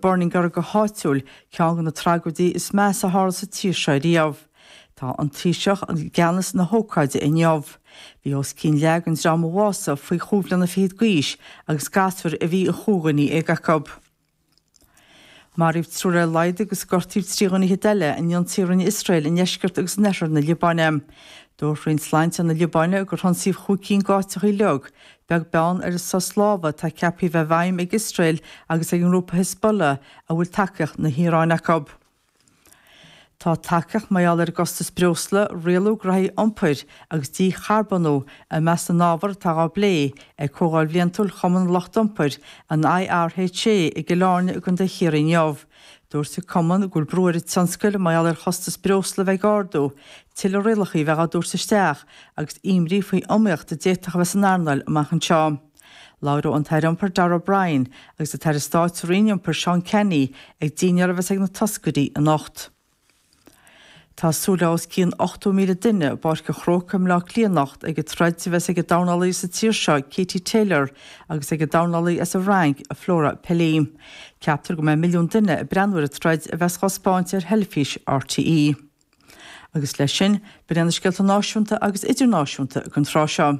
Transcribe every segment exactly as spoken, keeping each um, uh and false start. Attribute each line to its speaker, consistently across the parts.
Speaker 1: Burning orthu go háitiúil, ceann de na tragóidí is measa a tharla sa tír seo riamh. Tá an Taoiseach i gceannas na hócáide inniu. Bhí os cionn leath den dream a bhásaigh faoi chúig bliana fichead d'aois agus gasúir a bhí i chúig dhuine dhéag acu. Maraíodh triúr ar a laghad agus gortaíodh trí dhuine fhichead eile in ionsaí a rinne Iosrael i ndeisceart agus in oirthear na Liobáine. Dúirt Roinn Sláinte na Liobáine gur hionsaíodh chúig cinn d'áiteacha uilig, beag beann ar an sos láimhe atá ceaptha a bheith i bhfeidhm ag Iosrael agus ag an ngrúpa Hezbollah a bhfuil tacaíocht na hIaráine acu. Tá tacaíocht mar gheall ar an gcostas breosla, rialú graithí iompair agus dícharbónú i measc na n-ábhar atá á bplé ag Comhdháil Bhliantúil Chumann Lucht Iompair, an IRHA, i gCill Airne i gContae Chiarraí inniu. Dúirt an cumann go bhfuil brú ar an tionscal mar gheall ar chostas breosla a bheith ag ardú, tuilleadh rialacha a bheith á dtabhairt isteach agus imní faoi iomaíocht a d'fhéadfadh a bheith san earnáil amach anseo. Labhróidh an tAire Iompair Darragh O'Brien agus an tAire Stáit sa Roinn Iompair Seán Canney ag dinnéar a bheas ag na toscairí anocht. Tá súil le os cionn ochtó míle duine i bPáirc an Chrócaigh i mBleá Cliath anocht ag an troid a bheas ag an dornálaí sa tír seo Katie Taylor agus ag an dornálaí as an bhFrainc, Flora Pelly. Ceaptar go mbeidh milliún duine ag breathnú ar an troid a bheas á thaispeáint ar theilifís RTÉ. Agus leis sin, b'in iad na scéalta náisiúnta agus idirnáisiúnta don tráth seo.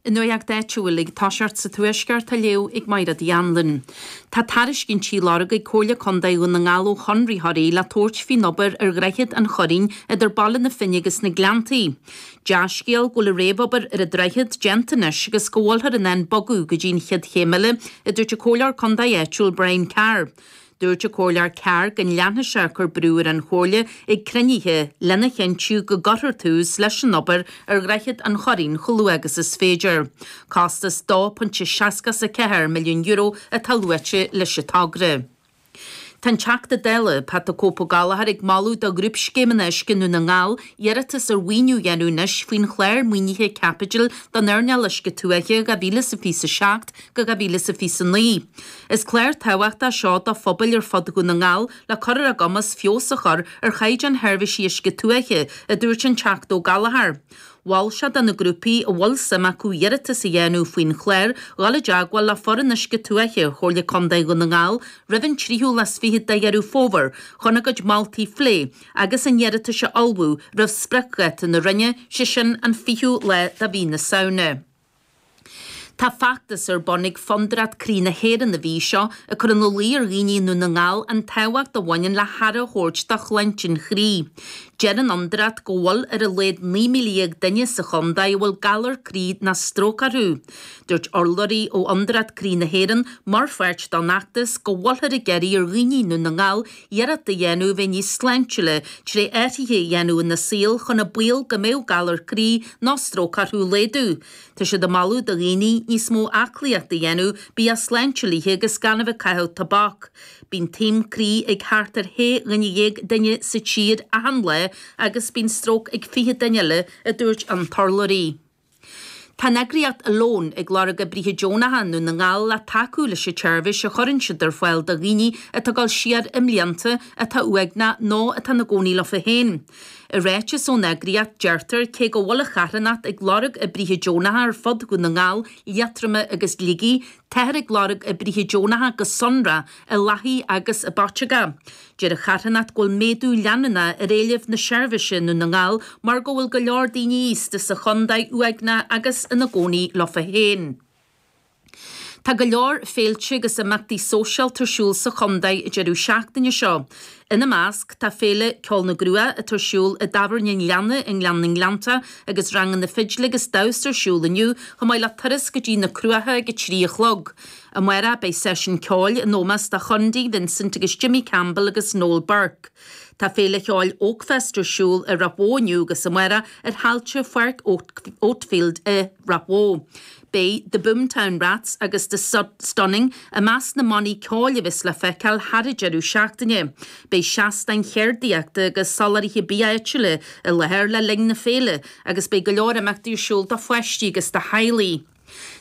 Speaker 2: An nuacht áitiúil ag toiseacht sa Tuaisceart á léamh ag Máire Uí Anluain. Tá tairiscintí á lorg ag Comhairle Contae Dhún na nGall ó chonraitheoirí le tabhairt faoin obair ar Dhroichead an Choirín idir Baile na Finne agus na Gleanntaí. Dea-scéal go bhfuil an réamhobair ar an droichead déanta anois agus go bhfuilthear in ann bogadh go dtí an chéad chéim eile, a dúirt an Comhairleoir Contae áitiúil Brian Carr. Dúirt an Comhairleoir Carr go leanfaidh sé ag cur brú ar an Chomhairle ag cruinnithe lena chinntiú go gcuirfear tús leis an obair ar Dhroichead an Choirín chomh luath agus is féidir. Costas dó pointe seasca is a ceathair milliún euro atá luaite leis an togra. Tá an Teachta Dála, Pat the Cope Ó Gallchóir ag moladh do Ghrúpscéimeanna Uisce Dhún na nGall iarratas ar mhaoiniú a dhéanamh anois faoin chlár maoinithe caipitil don earnáil uisce tuaithe dhá mhíle is a fiche a seacht go dhá mhíle is a fiche a naoi. Is clár tábhachtach seo do phobail ar fud Dhún na nGall le cur ar a gcumas feabhas a chur ar chaighdeán sheirbhísí uisce tuaithe, a dúirt an Teachta Ó Gallchóir. Mhol sé do na grúpaí a bhfuil suim acu iarratas a dhéanamh faoin chlár dhul i dteagmháil le foireann Uisce Tuaithe Chomhairle Contae Dhún na nGall roimh an tríú lá is fiche de Dheireadh Fómhair chun a gcuid moltaí a phlé agus a n-iarratais a ullmhú roimh spriocdháta na Roinne, sé sin an fichiú lá de mhí na Samhna. Tá feachtas ar bun ag Fondúireacht Croí na hÉireann an mhí seo ag cur ina luí ar dhaoine i nDún na nGall an tábhacht a bhaineann le haire a thabhairt do shláinte an chroí. Deir an Fhondúireacht go bhfuil ar a laghad naoi míle dhéag duine sa chontae a bhfuil galar croí nó stróc orthu. Dúirt urlabhraí ó Fhondúireacht Croí na hÉireann mar pháirt den fheachtas go bhfuilthear ag iarraidh ar dhaoine i nDún na nGall iarracht a dhéanamh a bheith níos sláintiúla tré athruithe a dhéanamh ina saol chun an baol go mbeadh galar croí nó stróc orthu a laghdú. Tá siad ag moladh do dhaoine níos mó aclaíochta a dhéanamh, bia sláintiúil a ithe agus gan a bheith ag caitheamh tobac. Bíonn taom croí ag thart ar shé dhuine dhéag duine sa tír achan lá agus bíonn stróc ag fiche duine eile, a dúirt an t-urlabhraí. Tá an eagraíocht Alone ag lorg oibrithe deonacha i nDún na nGall le tacú leis an tseirbhís a chuireann siad ar fáil do dhaoine atá ag dul siar i mblianta, atá uaigneach nó atá ina gcónaí leofa féin. I ráiteas ón eagraíocht, deirtear cé go bhfuil an charthanacht ag lorg oibrithe deonacha ar fud Dhún na nGall, Liatroma agus Shligigh, táthar ag lorg oibrithe deonacha go sonrach i Lathaí agus i bPaiteagá. Deir an charthanacht go bhfuil méadú leanúnach ar éileamh na seirbhíse i nDún na nGall mar go bhfuil go leor daoine aosta sa chontae uaigneach agus ina gcónaí leofa féin. Tá go leor féilte agus imeachtaí sóisialta ar siúl sa chontae an deireadh seachtaine seo. Ina measc tá Féile Ceol na gCruach atá ar siúl i dTábhairne an Ghleanna i nGleann na nGleanntach agus ranganna fidle agus damhsa ar siúl inniu chomh maith le turas go dtí na Cruacha ag a trí a chlog. Amárach beidh seisiún ceoil in ómós do Chondaí, Vincent agus Jimmy Campbell agus Noel Burke. Tá Féile Cheoil Oakfest ar siúl i Ráth Bhoth inniu agus amárach ar thailte Pháirc Oatfield i Ráth Bhoth. Beidh The Boomtown Rats agus The Stunning i measc na mbannaí ceoil a bheas le feiceáil thar an deireadh seachtaine. Beidh seastáin cheardaíochta agus soláthraithe bia áitiúla i láthair le linn na féile agus beidh go leor imeachtaí ar siúl do pháistí agus do theaghlaigh.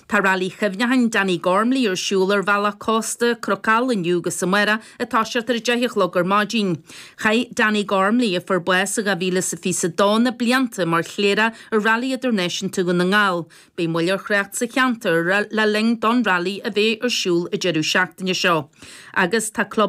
Speaker 2: Tá Railí Chuimhneacháin Danny Gormley ar siúl ar bhealach cósta Chnoc inniu agus amárach ag toiseacht ar a deich a chlog ar maidin. Chaith Danny Gormley a fuair bás i dhá mhíle is a fiche a dó na blianta mar chléireach ar Rally Idirnáisiúnta Dhún na nGall. Beidh moill ar thrácht sa cheantar le linn don rally a bheith ar siúl an deireadh seachtaine seo. Agus tá club